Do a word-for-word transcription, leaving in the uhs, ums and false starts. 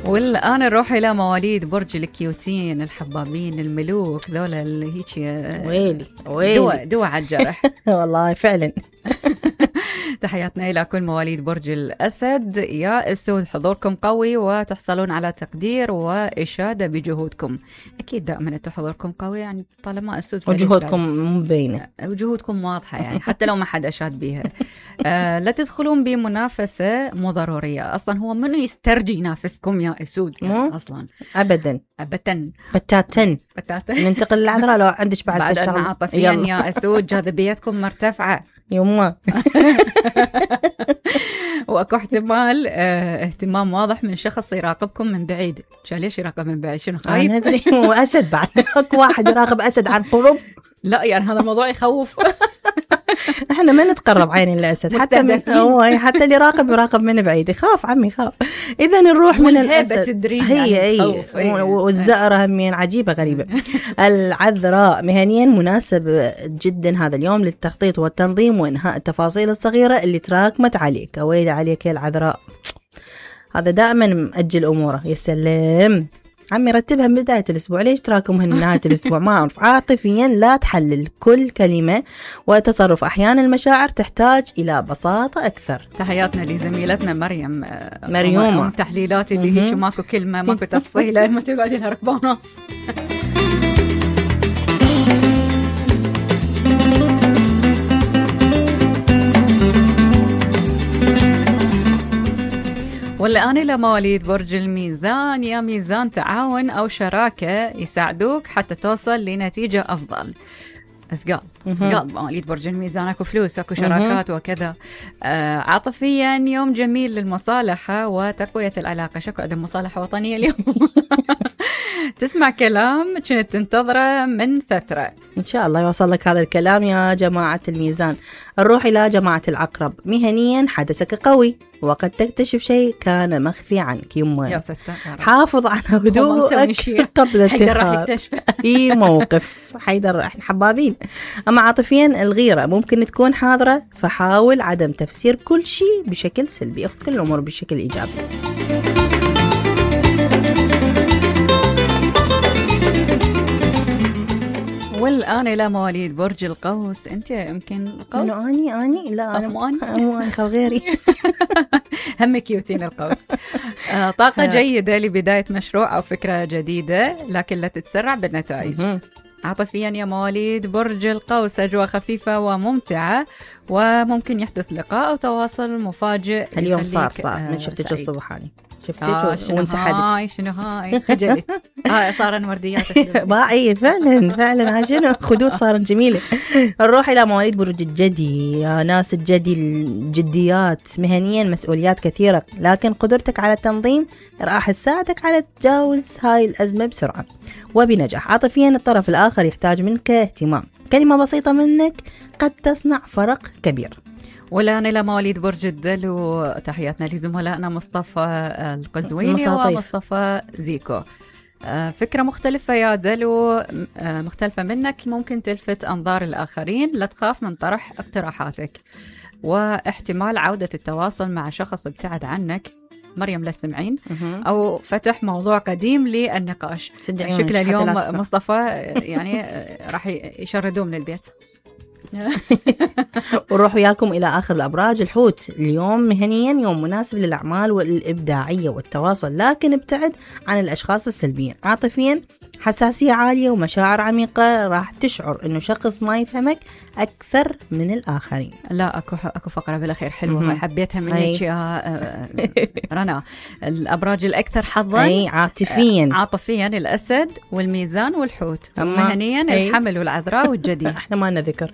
والآن نروح إلى مواليد برج الكيوتين الحبابين الملوك ذولا اللي هيك ويلي ويلي دوا دوا على الجرح. والله فعلا. تحياتنا إلى كل مواليد برج الأسد. يا أسود حضوركم قوي وتحصلون على تقدير وإشادة بجهودكم. أكيد دائما أنتم حضوركم قوي، يعني طالما أسود وجهودكم مبينة وجهودكم واضحة، يعني حتى لو ما حد أشاد بيها. آه لا تدخلون بمنافسة مو ضرورية. أصلا هو منو يسترجي ينافسكم يا أسود يعني أصلا أبدا أبدا بتاتا بتاتا. ننتقل للعذراء لو عندش بعد بعد الشغل عاطفيا يا أسود جاذبيتكم مرتفعة يما. واكو احتمال اه اهتمام واضح من شخص يراقبكم من بعيد. شو ليش يراقب من بعيد؟ شنو خايف؟ ندري هو اسد بعد. اكو واحد يراقب اسد عن قرب. لا يعني هذا الموضوع يخوف. احنا ما نتقرب عين الاسد حتى من هو حتى اللي يراقب يراقب من بعيد يخاف عمي يخاف. اذا نروح من الاسد هي هي والزئره همين عجيبه غريبه. العذراء مهنيا مناسب جدا هذا اليوم للتخطيط والتنظيم وانهاء التفاصيل الصغيره اللي تراكمت عليك. ويلي عليك يا العذراء، هذا دائما مأجل اموره. يا سلام عمي رتبها من بداية الأسبوع، ليش تراكمها من نهاية الأسبوع؟ ما أعرف. عاطفيا لا تحلل كل كلمة وتصرف، أحيانا المشاعر تحتاج إلى بساطة أكثر. تحياتنا لزميلتنا مريم مريومة تحليلات اللي هي شو ماكو كلمة ماكو تفصيلة ما تقعد لها ركبة ونص. والآن إلى مواليد برج الميزان. يا ميزان تعاون أو شراكة يساعدوك حتى توصل لنتيجة أفضل. أثقال أثقال مواليد برج الميزان، أكو فلوس أكو شراكات وكذا. آه عاطفيا يوم جميل للمصالحة وتقوية العلاقة. شكو عندهم مصالحة وطنية اليوم. تسمع كلام كنت تنتظره من فترة، إن شاء الله يوصل لك هذا الكلام يا جماعة الميزان. نروح إلى جماعة العقرب. مهنيا حدثك قوي وقد تكتشف شيء كان مخفي عنك. يما يا ستة حافظ على هدوءك قبل اتخاذ أي موقف. حيدر احنا حبابين. أما عاطفيا الغيرة ممكن تكون حاضرة، فحاول عدم تفسير كل شيء بشكل سلبي، اخذ كل الأمور بشكل إيجابي. والآن إلى مواليد برج القوس. أنت يمكن القوس؟ أني أني لا أنا مو أنا مو أنا غيري. هم كيوتين القوس. آه طاقة جيدة لبداية مشروع أو فكرة جديدة، لكن لا تتسرع بالنتائج. عاطفيا يا مواليد برج القوس أجواء خفيفة وممتعة، وممكن يحدث لقاء أو تواصل مفاجئ. اليوم صار صار آه من شفتك الصبحاني شفتك آه وانسحبت. هاي شنو هاي خجلت. ها صار ورديات ما اي فعلا فعلا عشان خدود صارت جميله. نروح الى مواليد برج الجدي. يا ناس الجدي الجديات مهنيا مسؤوليات كثيره، لكن قدرتك على التنظيم راح تساعدك على تجاوز هاي الازمه بسرعه وبنجاح. عاطفيا الطرف الاخر يحتاج منك اهتمام، كلمه بسيطه منك قد تصنع فرق كبير. والآن إلى مواليد برج الدلو. تحياتنا لزملائنا مصطفى القزويني مصاطيف. ومصطفى زيكو. فكرة مختلفة يا دلو، مختلفة منك، ممكن تلفت أنظار الآخرين. لا تخاف من طرح اقتراحاتك، واحتمال عودة التواصل مع شخص ابتعد عنك. مريم لا سمعين أو فتح موضوع قديم للنقاش. شكل اليوم مصطفى يعني راح يشردوه من البيت. ونروح وياكم إلى آخر الأبراج. الحوت اليوم مهنيا يوم مناسب للأعمال والإبداعية والتواصل، لكن ابتعد عن الأشخاص السلبيين. عاطفيا حساسية عالية ومشاعر عميقة، راح تشعر إنه شخص ما يفهمك أكثر من الآخرين. لا أكو أكو فقرة بالأخير حلوة حبيتها منك يا رنا. الأبراج الأكثر حظا أي عاطفيا عاطفيا الأسد والميزان والحوت. مهنيا الحمل والعذراء والجدي. احنا ما نذكر.